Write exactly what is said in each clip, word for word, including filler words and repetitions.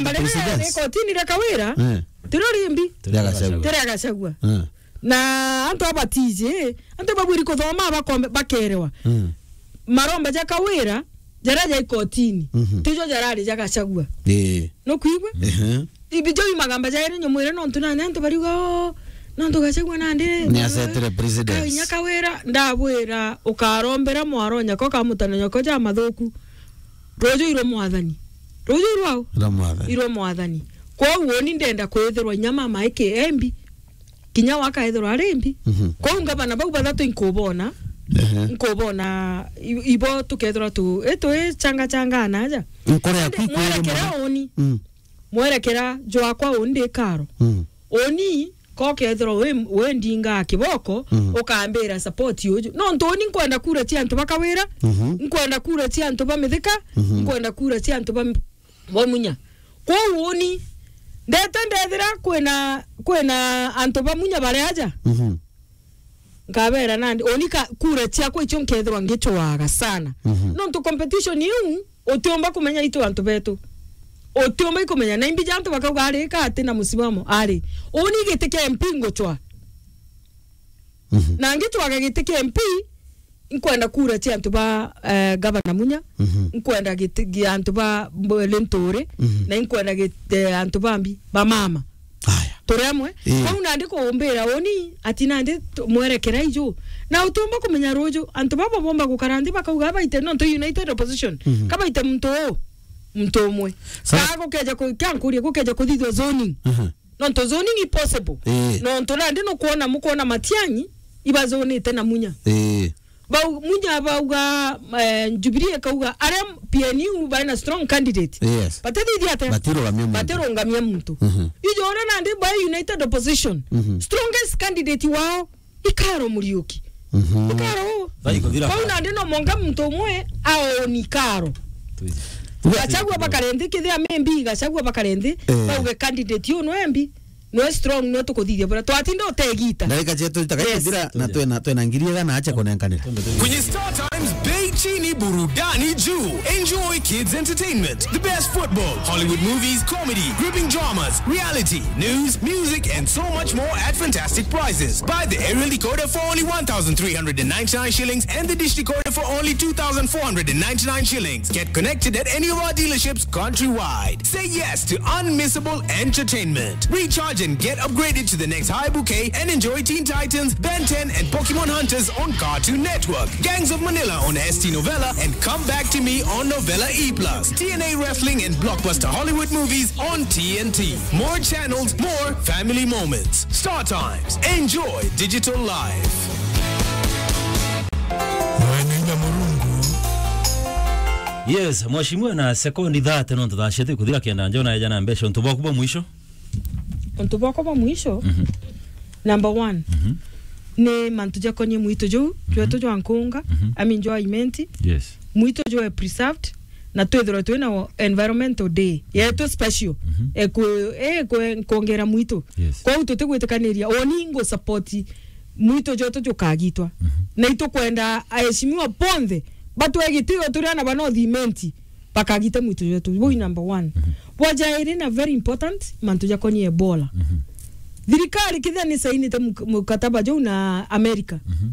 Mbere ya Precedence. Rikotini ria Kawira, Eh. Tirio rimbi. Ria Gachagua. Tiria Gachagua. Eh. Na antu abatiji, antu babwiri kuthoma bakombe-, bakerewa. Mm. Maromba ja Kawira, jaria ja ikotini, Mhm. tijo jarari ja Gachagua. Ii. Nukwigua? Ehe. Ibi jo imagamba jairi nyumwire nontu nani antu bariuga, "Oh, nontu Gachagua nandi." Ni asetire precedence. Ka inya Kawira, ndabwira, ukarombera mwaro nyako kamutana nyako ja mathuku. Ruju irwa mwathani. Ruju irwao? Irwa mwathani. Irwa mwathani. Kwou uni ndenda kwithirwa inya mama eke embi. Kinya wakaethirwa ari mbi. Mhm. Kwou ngavana bau bathatu inkubona. Ehe. Nkubona i-, ibo tukethirwa tu, e, twi changa changa na aja. Nkore yaku ikwire mwerekera mono. Uni. Mm. Mwerekera jwakwa uni ndi karo. Mm. Uni, ko kethirwa wi, wi ndinga kiboko, Mhm. ukambira support uju. Nontu uni nkwenda kura cia antu ba Kawira, Mhm. nkwenda kura cia antu ba Mithika, Mhm. nkwenda kura cia antu ba, ba Munya. Kwou uni, ndete ndethira kwina, kwina antu ba Munya bari aja. Mhm. Nkabera nandi, uni ka, kura ciakwa icio nkethirwa ngicwaga sana. Mhm. Nontu competition iu, utiumba kumenya itu antu betu. Utiumba ikumenya. Na imbi ja antu bakauga ari ka ati na musimamo, ari. Uni giti kia M P ngucwa. Mhm. Na ngicwaga giti kia M P, nkwenda kura cia antu ba, eh, Gavana Munya, Mhm. nkwenda giti gia antu ba Mb-, Linturi, Mhm. na nkwenda giti, eh, antu ba mbi, ba mama. Aya. Turi amwe. Ii. Kwou nandi kuumbira uni, ati nandi tu-, mwerekera iju. Na utiumba kumenya ruju, antu baba bomba gukara nthi bakauga abaite, nontu United Opposition. Mhm. Kabaite muntu uu, muntu umwe. Sa- Ka gukeja ku-, ka nkurie gukeja kuthithua zoning. Mhm. Nontu zoning i possible. Ii. Nontu nandi nukwona, mukwona Matiang'i, ibazonite na Munya. Ii. Bau, Munya bauga, eh, Jubilee ikauga, aria P N U bari na strong candidate. Yes. Batithithia atia? Batirugamia muntu. Batirugamia muntu. Mhm. Ijo uria nandi by United Opposition. Mhm. Strongest candidate wao, Ikaro Muriuki. Mhm. Ikaro. Bari kuthira. Kwou nandi no monga muntu umwe aoni Ikaro. Twi- Gachagua bakare nthi, kithia M B Gachagua bakare nthi, Eh. bauge candidate uyu no M B. Nwe strong, nwe tukuthithia bura. Twatinda utegita. Ndagika cietu itaka Yes. ithira na twena, twena ngiri igana acha kunenkanira. Kwenye Star Times, bei chini, burudani juu. Enjoy kids entertainment, the best football, Hollywood movies, comedy, gripping dramas, reality, news, music, and so much more at fantastic prices. Buy the aerial decoder for only one thousand three hundred and ninety-nine shillings and the dish decoder for only two thousand four hundred and ninety-nine shillings. Get connected at any of our dealerships countrywide. Say yes to unmissable entertainment. Recharge and get upgraded to the next high bouquet and enjoy Teen Titans, Ben ten, and Pokemon Hunters on Cartoon Network, Gangs of Manila on S T Novella, and Come Back to Me on Novella E plus, T N A Wrestling and blockbuster Hollywood movies on T N T. More channels, more family moments. Star Times. Enjoy digital life. Mwene inya Murungu. Yes, mheshimiwa, na sekondi thirty nontu thaa ciatu ikuthira kenda njona eja na mbeca. Untu bwaku bwa mwisho? Untu bwakwa bwa mwisho, Mhm. number one, Mhm. ni mantu jakonie mwitu juu, Mhm. jwetu jwa nkunga, Mhm. I mean, jwa Imenti. Yes. Mwitu jwe preserved, na twithirwe twina environmental day yetu special. Mhm. Ekwe, ekwe nkwongera mwitu. Yes. Kwou tutigwitikaniria, oni ngu support mwitu jwetu jukagitwa. Mhm. Na itukwenda aheshimiwa bonthe batwe gitio turi ana ba North Imenti bakagita mwitu jwetu. Bui number one. Mhm. Bwa jairi na very important, mantu jakonie Ebola. Mhm. Thirikari kithia ni sainite muk-, mukataba juu na America. Mhm.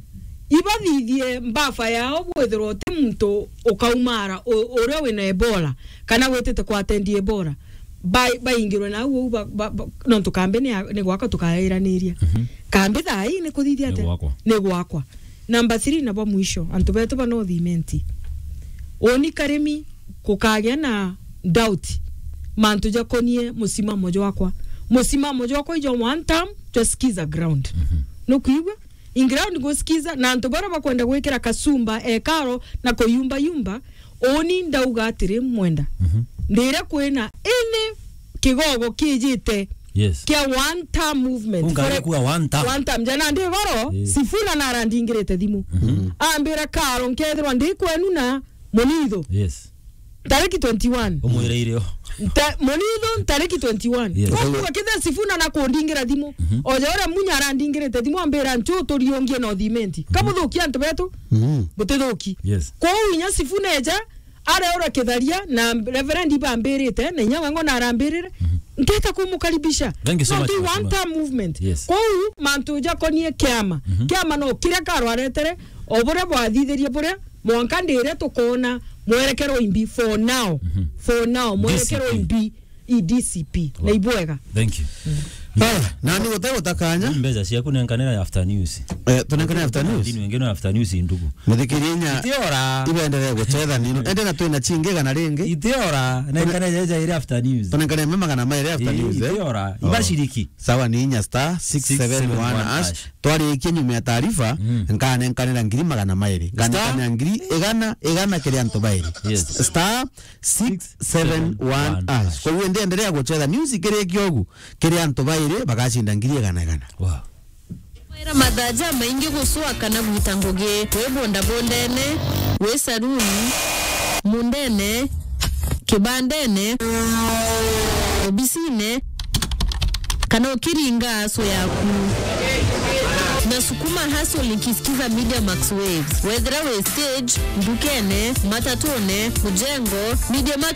Ibathithie mbafa yao bwithirwa uti muntu ukaumara u-, uria wina Ebola, kana witite kwatendi Ebola. Bai-, baingirwe na au, ba-, ba-, ba-, nontu kambi ni ya, ni gwakwa tukairaniria. Mhm. Kambi thaa ii ni kuthithia Ni atia? Gwakwa. Ni gwakwa. Number three na bwa mwisho, antu betu ba North Imenti. Uni karimi kukagia na doubt mantu jakonie musimamo jwakwa. Musimamo jwakwa ijo one term, jwa sikiza ground. Mhm. Nukwigua? In ground gusikiza, na antu bara bakwenda gwikira kasumba, ekaro, na kuyumba yumba, uni ndauga atiri, mwenda. Mhm. Ndira kwina any kigogo kijite Yes. kia one term movement. Unga For a-, kuwa one term. One term. Jana ndi goro, Eh. Sifuna narandingirite thimu. Mhm. Ambira, Karo, nkethirwa ndi kwenu na Munitho. Yes. Tariki twenty-one. Umwire irio. Nta-, Munitho tariki twenty-one. Yes. Koguo kethira Sifuna na kundingira thimu. Mhm. Oja uria Munya arandingirite thimu ambira, "Nchu turiungie na uthimenti." Mhm. Kamuthukia antu betu. Mhm. Butithuki. Yes. Kwou inya Sifuna eja, areura kitharia na Reverend ibambirite, na inya wango na arambirire, ndeta kumukaribisha. Thank you so much, Mheshimiwa. One term movement. Yes. Kou mantu jakonie kiama. Mhm. Kiama no kiria karwaretere, o buria bwathithirie buria, mwanka ndire tukona mwerekero imbi for now. Mhm. For now, mwerekero D C P. Imbi. I D C P. Wow. Na ibwega. Thank you. Ah, nani gute gutakanya? Mbeca ciaku nenkanira after news. Eh, tunenkane after news. Ndini wengine after news ndugu. Muthikiria inya. Itiora. Ibenderee gucetha nino. Ende na twina chingi igana ringi. Itiora. Nenkane jaja ire after news. Tunenkane me magana mairi after news, eh? Itiora. Oh. Ibashiriki. Sawa ni inya star six seven one hash. Twarikie nyuma ya taarifa, mm, nkanenkanira ngiri magana mairi. Star? Nkanenkanira ngiri igana, igana kiri antu bairi. Yes. Star six seven one hash. Koguo ndi endelea gucetha. News ikirikia ugu, kiri antu bairi bagacinda ngiri igana igana. Wow. Kwira mathaa jamaingi gucwa kana gwita ngugi, wi bondabondene, wi saruni, mundene, kibandene, obisine, kana ukiringa aso yaku. Nasukuma hustle nikisikiza Media Max Waves. Wethira wi stage, ndukene, matatune, mujengo, Media Max